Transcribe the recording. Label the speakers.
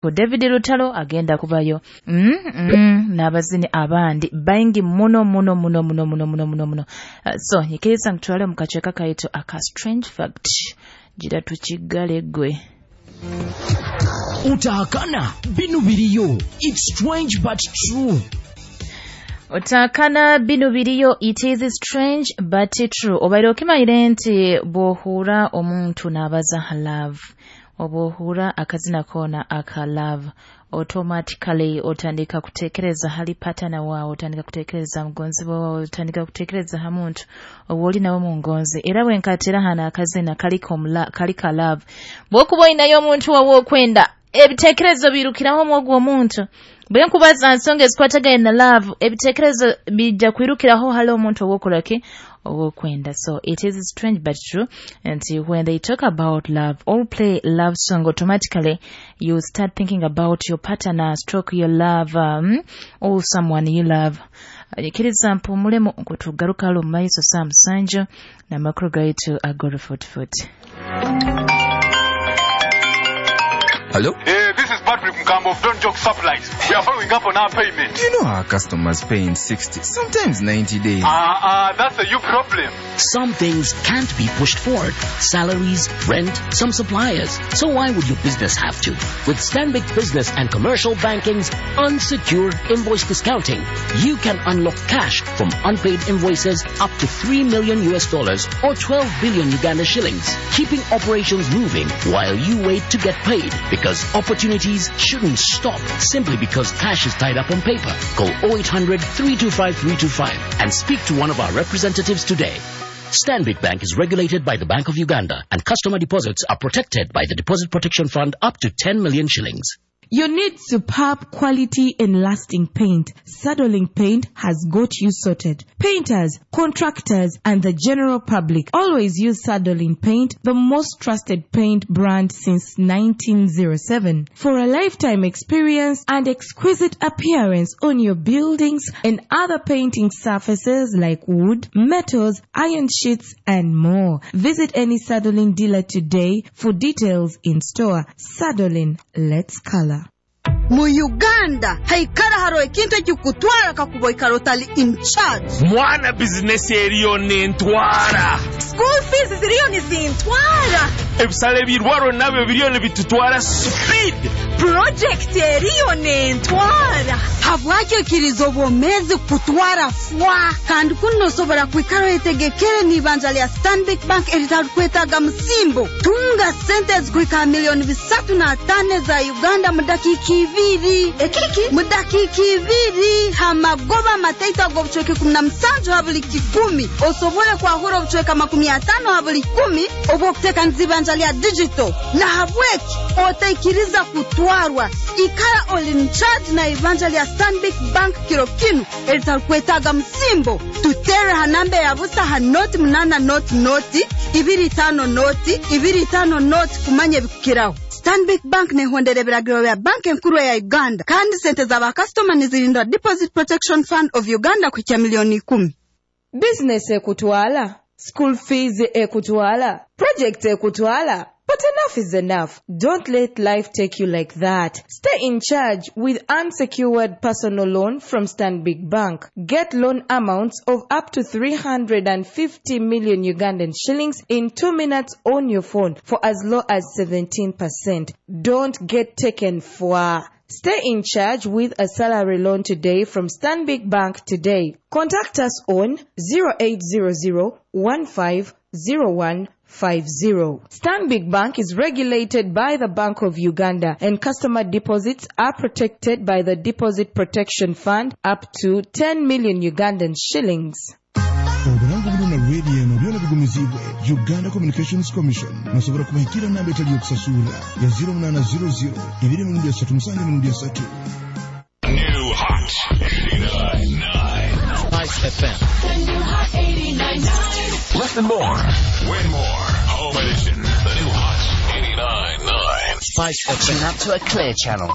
Speaker 1: David Lutalo agenda kubayo n'abazini abandi baingi muno muno muno muno muno muno muno muno. So nyikiriza nkutwale mu kacweka kaitu aka strange fact, gira tukigale gwe.
Speaker 2: Utahakana binu biriyo. It's strange but true.
Speaker 1: Otakana binu biriyo, it is strange but true. Obaire okimayire nti bw'ohuura omuntu n'abaza ha love, oba ohuura akazina koona aka love, automatically otandika kutekereza hali partner wawe, otandika kutekereza mugonzi wawe, otandika kutekereza ha muntu ow'oli nawe mu ngonzi. Era bwenkatera hano akazina kaliko love, bw'okuba olinayo omuntu wawe okwenda, ebitekerezo birukiraho omwogu omuntu. Bwe nkubaza nsonga ezikwatagana na love, ebitekerezo bijja kwirukiraho hali omuntu ow'okolaki ow'okwenda. So it is strange but true. And when they talk about love or play love song, automatically you start thinking about your partner, stroke your love, or someone you love. Nyikiriza mpumulemu nkutugaruka halo mu maiso saa 7 n'amakuru gaitu ag'orufuutufuuti.
Speaker 3: Hello?
Speaker 4: Hey, this is Patrick Mkambo of Don't Joke Supplies. We are following up on our payment.
Speaker 3: Do you know our customers pay in 60, sometimes 90 days?
Speaker 4: That's a you problem.
Speaker 5: Some things can't be pushed forward. Salaries, rent, some suppliers. So why would your business have to? With Stanbic Business and Commercial Banking's unsecured invoice discounting, you can unlock cash from unpaid invoices up to $3 million US or 12 billion Uganda shillings, keeping operations moving while you wait to get paid. Because opportunities shouldn't stop simply because cash is tied up on paper. Call 0800 325 325 and speak to one of our representatives today. Stanbic Bank is regulated by the Bank of Uganda, and customer deposits are protected by the Deposit Protection Fund up to 10 million shillings.
Speaker 6: You need superb quality and lasting paint. Sadolin Paint has got you sorted. Painters, contractors, and the general public always use Sadolin Paint, the most trusted paint brand since 1907. For a lifetime experience and exquisite appearance on your buildings and other painting surfaces like wood, metals, iron sheets, and more. Visit any Sadolin dealer today for details in store. Sadolin, let's color.
Speaker 7: Mu Uganda haikara haro ekintu ekikutwara kakuba oikara otali in charge.
Speaker 8: Mwana bizinesi eriyo nentwara.
Speaker 7: School fees ziriyo nizintwara.
Speaker 8: Ebisale ebirwaro nabyo biriyo nibitutwara speed.
Speaker 7: Project eriyo nentwara. Habwaki okiriza obwomezi kutwara fwa? Kandi kuno osobora kwikara oyetegekere n'ibanja lya Stanbic Bank eritarukwetaaga musimbo. Tunga sente ezikuhika 305 million za Uganda mu dakiika 2.
Speaker 9: Ekiki?
Speaker 7: Mu dakiika 2 hamagoba mataito ag'obucweka 17 ha buli 100. Osobole kwahura obucweka 50 ha buli 10 obw'okuteekaniza ibanja lya digital. Nahabweki otaikiriza kutwarwa. Ikara oli in charge na ibanja lya Stanbic Bank kiro kinu eritarukwetaaga musimbo. Tutere ha namba ya busa ha 0 8 0 0 2 5 0 2 5 0 kumanya ebikukiraho. Stanbic Bank nehondera ebiragiro bya banki enkuru ya Uganda, kandi sente z'abakasitoma nizirindwa Deposit Protection Fund of Uganda kuhikya 10 million.
Speaker 6: Business ekutwala, school fees ekutwala, project ekutwala. But enough is enough. Don't let life take you like that. Stay in charge with unsecured personal loan from Stanbic Bank. Get loan amounts of up to 350 million Ugandan shillings in 2 minutes on your phone for as low as 17%. Don't get taken for. Stay in charge with a salary loan today from Stanbic Bank today. Contact us on 0800 1501 50. Stanbic Bank is regulated by the Bank of Uganda, and customer deposits are protected by the Deposit Protection Fund up to 10 million Ugandan shillings.
Speaker 10: Obulango buno na radio eno byona bigumizibwe Uganda Communications Commission. Nosobola kubahikira namba etali yokusasula ya 0800 2 3 7 3.
Speaker 11: New Hot 89.9
Speaker 5: Spice FM.
Speaker 11: Listen more, win more. Home edition. The new Hot 89.9.
Speaker 5: Spice FM.
Speaker 12: Tune up to a clear channel.